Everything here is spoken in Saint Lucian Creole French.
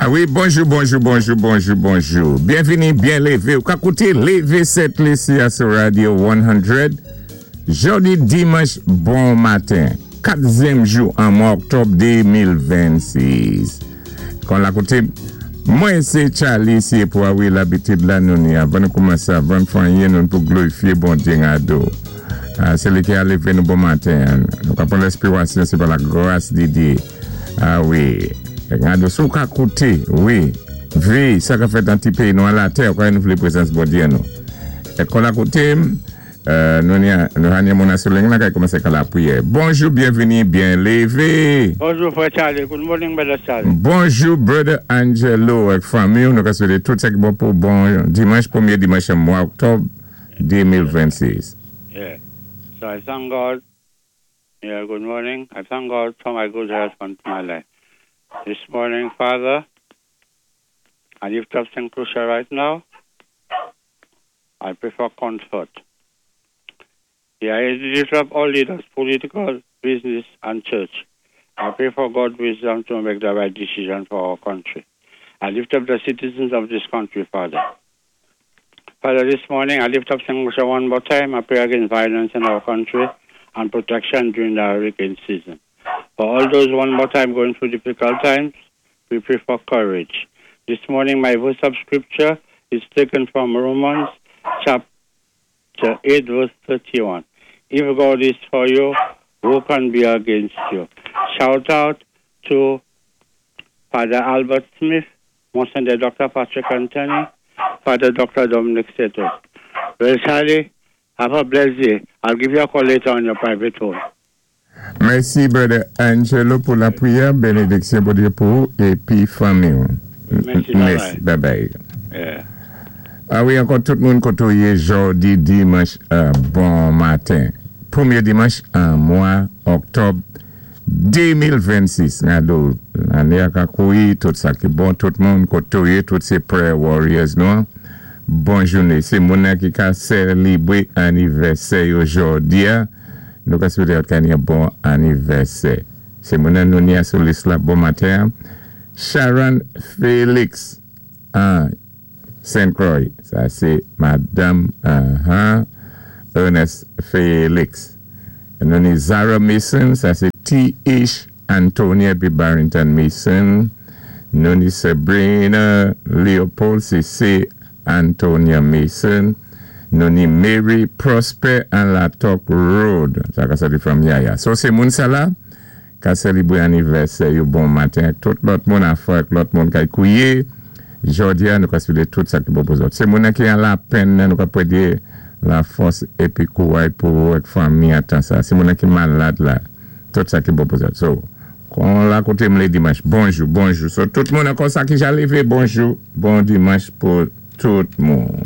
A wi, bonjou, bonjou, bonjou, bonjou, bonjou. Byenvini, byen lévé. Ou ka kouté Lévé Sent Lisi a sou Radio 100. Jòdi dimanch bon maten. Katzyèm jou an mwa oktòb 2026. Kon la kouté, mwen sé Charly Siepo a wi labitid la nou ni avan nou koumansé avan n fè anyen nou pou glorifyé Bondye n ado. A sé li ki a lévé nou bon maten an. Nou ka pran lèspirasyon sé pa la gras di Dye. A wi. Gade si w ka koute, wi. Vi, sa ka fèt nan ti peyi nou an latè, ou ka wè nou vle prezans Bondye an nou. E kon la koute m, nou ni a, nou ha ni moun an sou ling lan kay kòmanse ka lapriyè. Bonjou, byenvini, byen leve! Bonjou frè Charly, good morning brother Charly. Bonjou brother Angelo ak fanmi w, nou ka swete tout sa ki bon pou bon dimanch, premye dimanch an mwa oktòb 2026. Yeah, so I thank God. Yeah, good morning. I thank God for my good health and my life. This morning, Father, I lift up St. Lucia right now. I pray for comfort. Yeah, I lift up all leaders, political, business, and church. I pray for God's wisdom to make the right decision for our country. I lift up the citizens of this country, Father. Father, this morning I lift up St. Lucia one more time. I pray against violence in our country and protection during the hurricane season. For all those one more time going through difficult times, we pray for courage. This morning, my verse of scripture is taken from Romans chapter 8, verse 31. If God is for you, who can be against you? Shout out to Father Albert Smith, Monsignor Dr. Patrick Anthony, Father Dr. Dominic Seto. Well, Charlie, have a blessed day. I'll give you a call later on your private phone. Mèsi brother Angelo pou lapriyè, benediksyon Bondye pou ou épi fanmi w. Mèsi, bye Mèsi, bye. Bye bye. A wi ankò tout moun koté w yé jòdi dimanch bon maten. Pwémyé dimanch an mwa oktòb 2026. Gado lanné a ka kouri tout sa ki bon tout moun koté w yé tout sé prayer warriors nou an. Bon jouné. Sé moun nan ki ka sèlibré anivèsè yo jòdi a. Nou ka swété yo ka ni yon bon anivèsè. Sé moun nan nou ni a sou lis la bon maten an. Sharon Felix an Saint Croix. Sa sé madanm Ernest Felix. Nou ni Zara Mason, sa sé T.H. Antonia épi Barrington Mason. Nou ni Sabrina Leopold, sé C. Antonia Mason. Nou ni Mary Prosper an Latok Road. Sa ka sòti from Yaya. So sé moun sa la ka sèlibré anivèsè yo bon maten ak tout lòt moun afò ak lòt moun kay kouwé. Jòdi a nou ka swété tout sa ki bon pou zòt. Sé moun nan ki an lapenn nan nou ka pwédé lafòs épi kouray pou ou ak fanmi an tan sa. Sé moun nan ki malad la tout sa ki bon pou zòt. So kon la kouté m lé dimanch. Bonjou, bonjou. So tout moun ankò sa ki ja lévé bonjou, bon dimanch pou tout moun.